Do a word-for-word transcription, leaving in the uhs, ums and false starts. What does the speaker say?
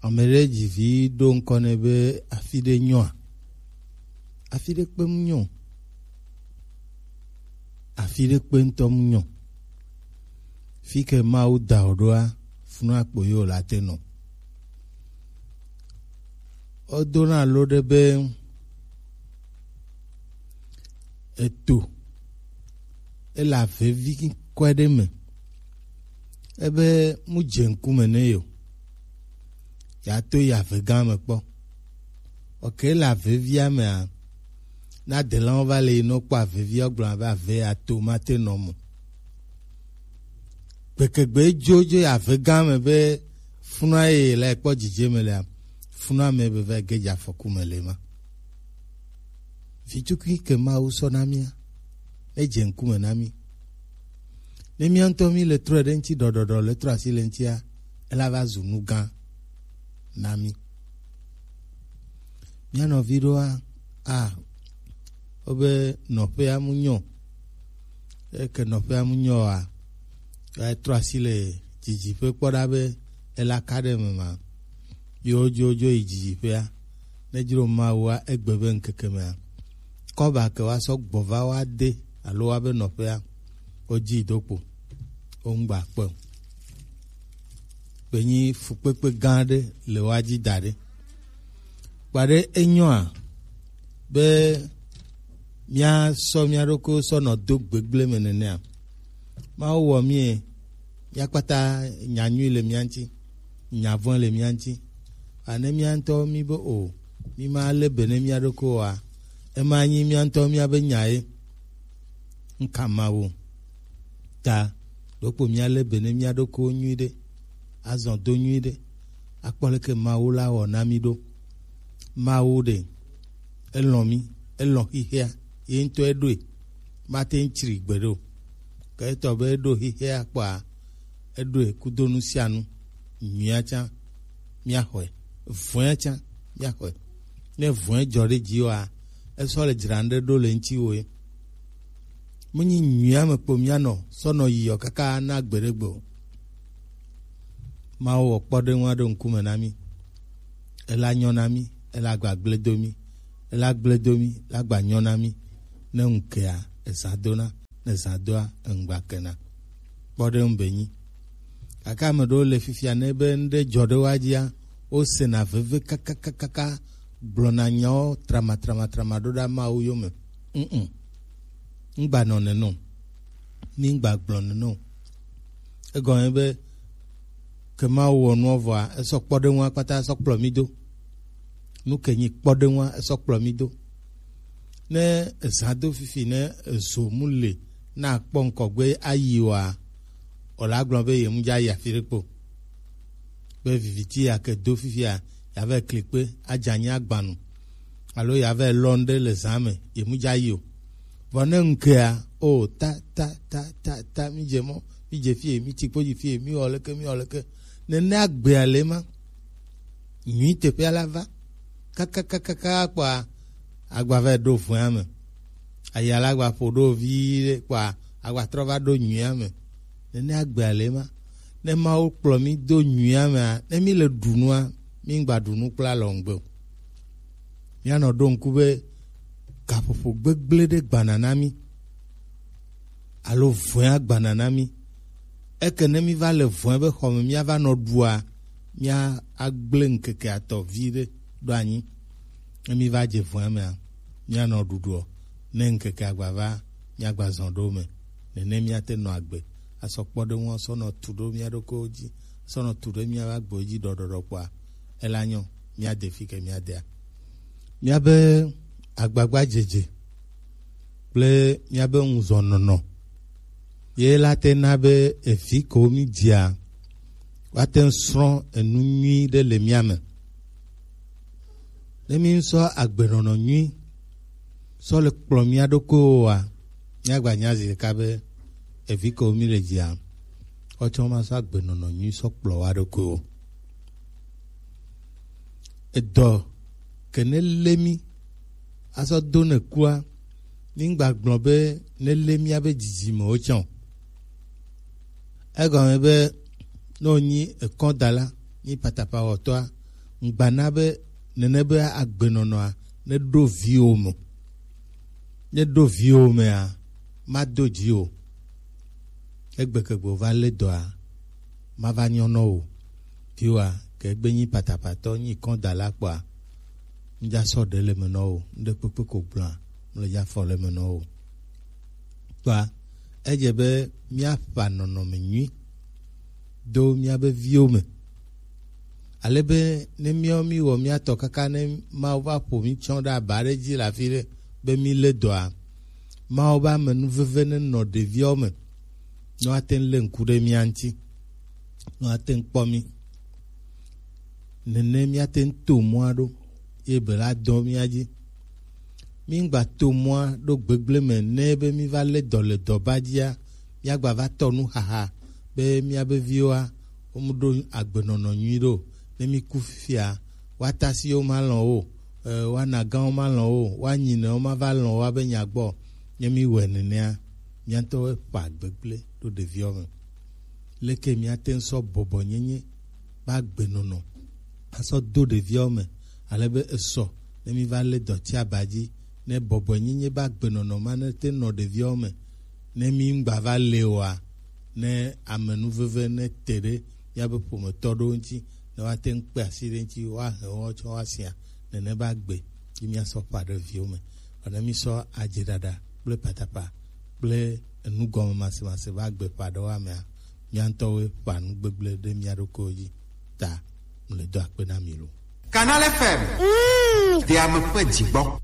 Ame ɖe dzi vi ɖo ŋkɔ nɛ be afi ɖe nyɔa? Afi ɖe kpe mu nyɔ. Afi ɖe kpe ŋutɔ mu nyɔ. Fi ke Mawu da wò ɖoa, funu akpo ye wòle ate nɔ. Wodona lo ɖe be eto ele avevi kɔe ɖe me. Ebe mu dze ŋkume ne yo. Ya to yi ave gã me kpɔ. Oke le avevia mea, na delawo va le yi nɔ kpɔ avevia gblɔ abe ave ya to mate nɔ mo. Gbekegbe dzo dzo yi ave gã me be funua ye le kpɔ dzidze me lea, funua me be va ge dze afɔku me le ma. Vitukui ke Mawu sɔ na mía, ne dze ŋkume na mí. Ne mía ŋutɔ mí le trɔe ɖe ŋuti ɖɔɖɔɖɔ le trɔ asi le ŋutia, ela va zu nu gã na mí. Mía nɔvi ɖoa, a, wobe nɔƒea mu nyɔ. Eke nɔƒea mu nyɔ oa, ya trɔ asi le dzidziƒe kpɔ ɖa be ela ka ɖe me ma. Yo dzo dzo yi dzidziƒea. Ne dzro Mawua egbe be ŋkeke mea, kɔba ke wa sɔ gbɔ va wa de alo wa be nɔƒea, wo dzi do kpo. Wo ŋgba kpe o. Kpe nyi fukpekpe gã ɖe le wa dzi da ɖe. Kpaɖe enyɔa be míasɔ mía ɖokuiwo sɔ nɔ do gbegblẽ me nenea? Mawu wɔ mí e, mía kpata nya nyui le mía ŋuti, nya vɔ̃ le mía ŋuti. A ne mía ŋutɔ mí be o, mí ma lé be ne mía ɖokuiwo oa, ema nyi mía ŋutɔ mía be nya ye. Ŋka Mawu ta ɖokpo mía lé be ne mía ɖokuiwo nyui ɖe, azɔ do nyui ɖe, akpɔ leke Mawu la wɔ na mí ɖo. Mawu ɖe, elɔ̃ mí, elɔ̃ xixea, ye ŋutɔ eɖoe, mate ŋu tsri gbe ɖo. Ke etɔ be eɖo xixea kpɔa, eɖoe kudo nu sia nu, nyuia tsã, míaxɔe, vɔ̃ea tsã, míaxɔe. Ne vɔ̃e dzɔ ɖe dzi oa, esɔ le dzra ŋɖe ɖo le ŋutiwò ye. Menyi nyuia me kpo míanɔ sɔ nɔ yiɔ kaka na gbeɖegbe o. Mawu wɔ kpɔɖeŋu aɖo ŋkume na mí. Ela nyɔ na mí, ela gba gble do mí, ela gble do mí, la gba nyɔ na mí. Ne ŋu kea, ezã dona, ne zã doa, eŋgba kena. Kpɔɖeŋu be nyi. Gake ame ɖewo le fifia ne be ŋɖe dzɔ ɖe woa dzia, wosena veve kakakakaka, gblɔna nyawo tramatramatrama ɖo ɖa Mawu yome. Mm-mm. Ŋgba nɔ nene o. Mí ŋgba gblɔ nene o. Egɔme be ke Mawu wɔ nua vɔa, esɔ kpɔɖeŋua kpata sɔ kplɔ mí do. Nu ke nyi kpɔɖeŋua esɔ kplɔ mí do. Ne ezã do fifi ne ezo mu le na akpɔ ŋkɔgbe ayi oa, wòle agblɔ be ye mu dza yi afi ɖe kpo. Be viviti ya ke do fifia, ya va kli kpe, adze anyi agbanu. Alo ya va lɔ ŋɖe le zã me, ye mu dza yi o. Vɔ ne ŋkea, o, ta, ta, ta, ta, ta, mi dze mɔ, mi dze fie, mi tsi kpo dzi fie, mi wɔ leke, mi wɔ leke. Nene agbea le ma. Nyui teƒea la va. Kakakakaka kpɔa, agba va ɖo vɔ̃ea me. Aya la gba ƒo ɖo vi ɖe kpɔa, agba trɔ va ɖo nyuia me. Nene agbea le ma. Ne Mawu kplɔ mí do nyuia mea, ne mí le ɖu nua, mí ŋgba ɖu nu kple alɔŋgbe o. Míanɔ ɖo ŋku be gaƒoƒo gbegblẽ ɖe gbana na mí alo vɔ̃e agbana na mí. Eke ne mí va le vɔ̃e be xɔ me míava nɔ ɖua, mía agblẽ ŋkeke atɔ vi ɖe ɖo anyi. Ne mí va dze vɔ̃e mea, míanɔ ɖuɖuɔ. Ne ŋkeke agba va, míagba zɔ ɖo me. Nene míate nɔ agbe. Asɔ kpɔɖeŋu sɔ nɔ tu ɖo mía ɖokuiwo dzi, sɔ nɔ tu ɖe míaƒe agbewo dzi ɖɔɖɔɖɔ kpɔa, ela nyɔ, míade fi ke míadea. Míabe agbagbadzedze kple míabe ŋuzɔnɔnɔ ye la te na be evi kewo mí dzia, woate ŋu srɔ̃ enu nyui ɖe le mía me. Ne mí sɔ agbenɔnɔ nyui sɔ le kplɔ mía ɖokuiwo oa, míagba nya zi ɖeka be evi kewo mí le dzia, woatsɔ ma sɔ agbenɔnɔ nyui sɔ kplɔ wa ɖokuiwo. Edɔ ke ne lé mí asɔ do ne kua, mí ŋgba gblɔ be ne lé míabe dzidzimewo tsã o. Egɔme be ne wònyi ekɔdala, nyi patapawɔtɔa, Ŋgbana be nene be agbenɔnɔa ne ɖo viwo me. Ne ɖo viwo mea, mado dzi o. Egbe ke gbe va lé dɔa, mava nyɔ nɔ o. Viwoa, ke egbe nyi patapatɔ, nyi kɔn da la kpɔa, ŋdza sɔ ɖe le me nɔ o. Ŋɖe kpekpe ko gblɔa, mle dza fɔ le me nɔ o. Kpɔa, edze be míaƒa nɔnɔme nyui do míabe viwo me. Ale be ne míawo míwɔ mía tɔ kaka ne Mawu va ƒo mí tsɔ ɖe aba ɖe dzi le afi ɖe be mí lé dɔa, Mawu be amenuveve ne nɔ ɖeviawo me, ne woate ŋu lé ŋku ɖe mía ŋuti, ne woate ŋu kpɔ mí. Nene míate ŋu to mɔa ɖo ye be la dɔ mía dzi. Míŋgba to mɔa ɖo gbegblẽ me ne be míva lé dɔ le dɔba dzia, míagba va tɔ nu xaxa be míabe viwoa, womu ɖo agbenɔnɔ nyui ɖo. Ne míku fifia, woata si wo malɔ̃ wo, e, woana gã wo malɔ̃ wo, woanyinɛ wo mava lɔ̃ wo abe nya gbɔ. Ne míwɔe nenea, míatɔwoe ƒa gbegblẽ ɖo ɖeviwo me. Leke míate ŋu sɔ bɔbɔnyenye be agbenɔnɔ asɔ do ɖeviawo me, ale be esɔ ne míva lé dɔti aba dzi, ne bɔbɔnyenye be agbenɔnɔ ma ne te nɔ ɖeviawo me, ne míŋgba va le oa, ne amenuveve ne te ɖe míabe ƒometɔ ɖewo ŋuti, ne woate ŋu kpe asi ɖe ŋuti, woahe wo tsɔ woasia, nene be agbe yi míasɔ ƒã ɖe viwo me. Vɔ ne mísɔ adzeɖaɖa kple patapa kple enugɔmemasemase va gbe ƒã ɖe woamea, mía ŋutɔwoe ƒã nu gbegblẽ ɖe mía ɖokuiwo dzi. Ta mle do akpe na mi lo. Canal F M. Mm. Deame ƒe dzigbɔ.